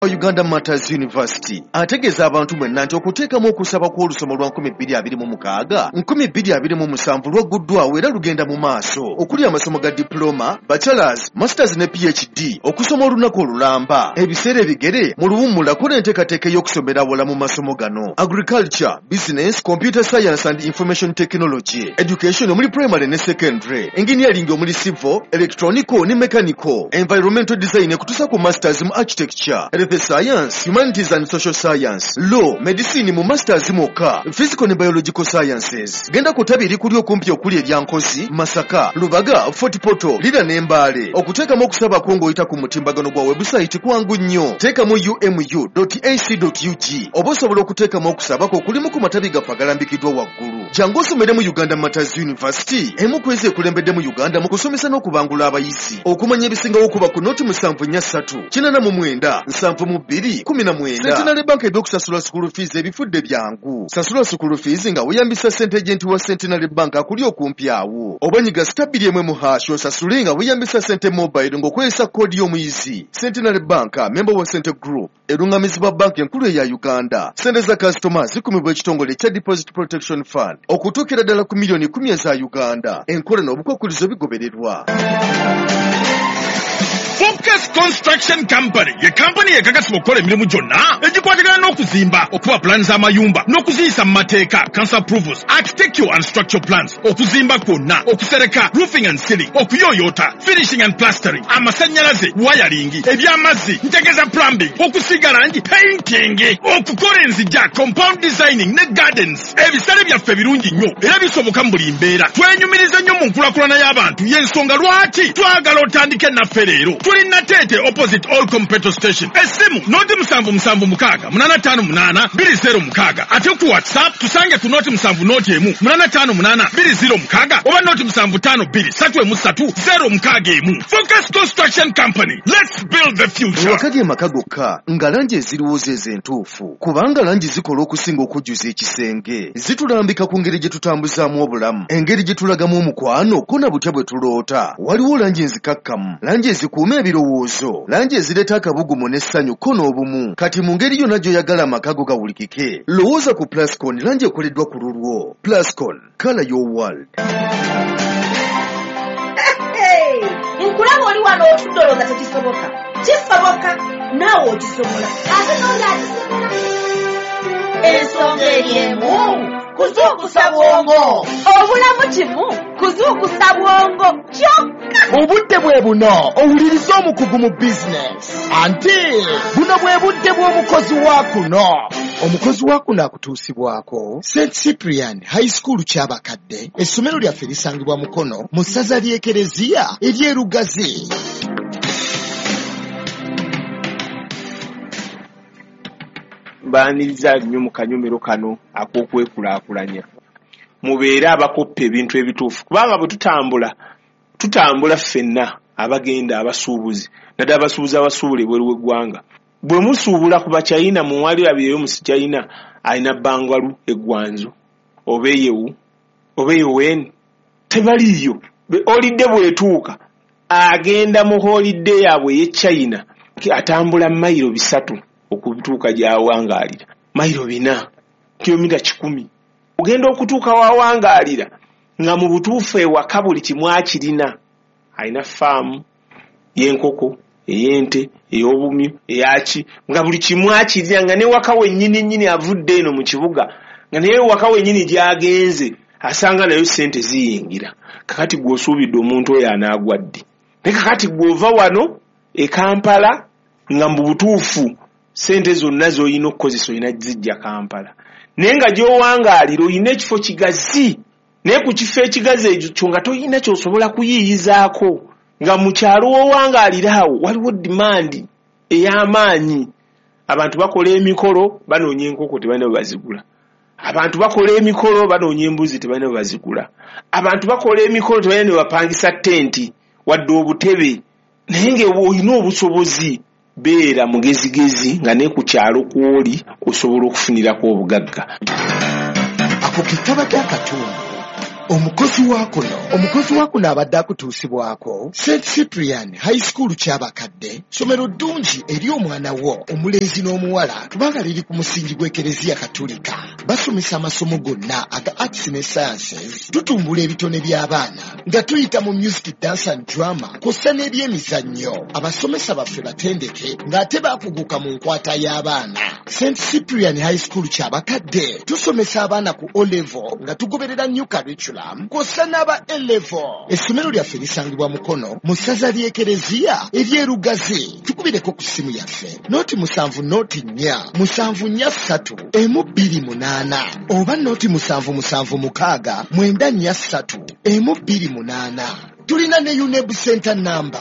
Uganda Martyrs University ategeeza abantu mwenna nti okuteekamu okusaba kw'olusoma lwa 2026 2027 lwagguddwawo era lugenda mu maaso, okuli amasomo ga diploma, bachelors, masters ne PhD, okusoma olunaku olulamba, ebiseera ebigere mu luwummula. Kola enteekateeka ey'okusomera awala mu masomo gano: agriculture, business, computer science and information technology, education omuli primary ne secondary, engineering omuli civil, electronical ne mechanical, environmental design, ekutuusa ku masters mu architecture, health science, humanities and social science, law, medicine mu masters mwokka, physical ne biological sciences. Genda ku ttabi erikuli okumpi okuli erya Nkozi, Masaka, Lubaga, Fort Portal, Lira ne Mbale. Okuteekamu okusaba kwo ng'oyita ku mutimbagano gwa website kwangu nnyo. Teekamu umu.ac.ug oba osobola okuteekamu okusaba kwo kulimu ku matabi gaffe agalambikiddwa waggulu. Jangu osomere mu Uganda Martyrs University, emu ku ezo ekulembedde mu Uganda mu kusomesa n'okubangula abayizi. Okumanya ebisingawo, kuba ku 073 89 72 19. Centenary Bank ebyokusasula school fees ebifudde byangu. Sasula school fees nga weeyambisa sente agent wa Centenary Bank akuli okumpi awo, oba nyiga *2 1# osasule nga weeyambisa sente mobile ng'okozesa koodi y'omuyizi. Centenary Bank, member wa Sente Group, erungamizibwa banka enkulu eya Uganda. Sente za kasitoma zikumibwa ekitongole ekya Deposit Protection Fund okutuukira ddala ku miliyoni 10 eza Uganda. Enkola n'obukwakulizo bigobererwa. Focus Construction Company ye kampani yekakasibwa okukola emirimu gyonna egikwatagana n'okuzimba, okuba pulaani z'amayumba n'okuziyisa mu mateeka, council approvals, architectural and structural plans, okuzimba kwonna, okusereka, roofing and ceiling, okuyooyoota, finishing and plastering, amasannyalaze, wiring, ebyamazzi, ntegeeza plumbing, okusiiga langi, painting, okukola enzija, compound designing ne gardens. Ebisale byaffe birungi nnyo era bisoboka mu buli mbeera. Twenyumiriza nnyo mu nkulakulana y'abantu, y'ensonga lwaki twagala otandike naffe leero. Tuli Nateete, opposite Olcom petrol station. Essimu 077 685 820 6. Ate ku WhatsApp tusange ku 070 1 858 206 oba 075 2 3 1 061. Focus Construction Company, let's build the future. Ewaka ge maka gokka nga langi eziriwo zezo entuufu, kubanga langi zikola okusinga okujjuza ekisenge. Zitulambika ku ngeri gye tutambuzaamu obulamu, engeri gye tulagamu omukwano, ko na butya bwe tuloota. Waliwo langi enzikakkamu, langi ezikuuma ebirowoozo, langi ezireeta akabugumu n'essanyu ko n'obumu. Kati mu ngeri yonna gy'oyagala amaka go gawulikike, lowooza ku Plascon, langi ekoleddwa ku lulwo. Plascon, color your world. Nkulaba oli wano otudde olowooza tekisoboka. Kisoboka, naawe okisobola, ate n'oli akisobola. Ensonga eri emu: kuzuukusa bwongo. Obulamu kimu kuzuukusa bwongo kyokka. Obudde bwe buno owuliriza omukugu mu bizinesi, anti buno bwe budde bw'omukozi wa kuno. Omukozi wa kuno akutuusibwako St Cyprian High School Kyabakadde. Essomero lyaffe lisangibwa Mukono, mu ssaza ly'Ekereziya ery'Erugazi. Mbaaniriza nnyo mu kanyomero kano ak'okwekulaakulanya. Mubeere abakoppa ebintu ebituufu, kubanga bwe tutambula, tutambula ffenna abagenda abasuubuzi, naddala abasuubuzi abasuubula ebweru w'eggwanga. Bwe musuubula ku Bachina, muwalirabireyo mu China alina bangalu egwanzo oba eyewu oba eyoweni, tebaliiyo. Holiday bw'etuuka, agenda mu holiday yaabwe ey'e China, atambula mayiro 3 okutuuka gy'awangaalira, mayiro 4, kilomita 100. Ogenda okutuuka wawangaalira nga mu butuufu ewaka buli kimu akirina. Alina faamu y'enkoko, ey'ente, ey'obumyu, eyaki, nga buli kimu akirina, nga newaka wennyini nnyini avudde eno mu kibuga, nga naye waka wennyini gy'agenze asanga nayo sente ziyingira. Kakati gwe osuubidde omuntu oyo anaagwa ddi? Naye kakati gwe ova wano e Kampala, nga mu butuufu sente zonna z'olina okukozesa olina zijja Kampala, naye nga gy'owangaalira olina ekifo kigazi, naye ku kifo ekigazi ekyo nga tolina ky'osobola kuyiiyizaako, nga mu kyalo w'owangaalira awo waliwo demand ey'amaanyi. Abantu bakola emikolo, banoonya enkoko, tebalina bwe bazigula. Abantu bakola emikolo, banoonya embuzi, tebalina bwe bazigula. Abantu bakola emikolo, tebalina ne bapangisa tenti wadde obutebe. Naye nga olina obusobozi, beera mugezigezi nga ne ku kyalo kw'oli osobola okufunirako obugagga. Ako ke kabadde akatundu. Omukozi wa kuno, omukozi wa kuno abadde akutuusibwako St Cyprian High School Kyabakadde, ssomero ddungi eri omwana wo omulenzi n'omuwala kubanga liri ku musingi gw'Ekereziya Katulika. Basomesa amasomo gonna aga arts ne sciences. Tutumbula ebitone by'abaana nga tuyita mu music, dance and drama kw'ossa n'ebyemizannyo. Abasomesa baffe batendeke ng'ate baakuguka mu nkwata y'abaana. St Cyprian High School Kyabakadde tusomesa abaana ku O level nga tugoberera new curriculum kw'ossa n'aba A level. Essomero lyaffe lisangibwa Mukono mu ssaza ly'Ekereziya ery'Erugazi. Tukubireko ku ssimu yaffe 0 7 0 4 7 4 3 1 2 8 oba 0 7 7 6 9 4 3 1 2 8. Tulina ne UNEB center number.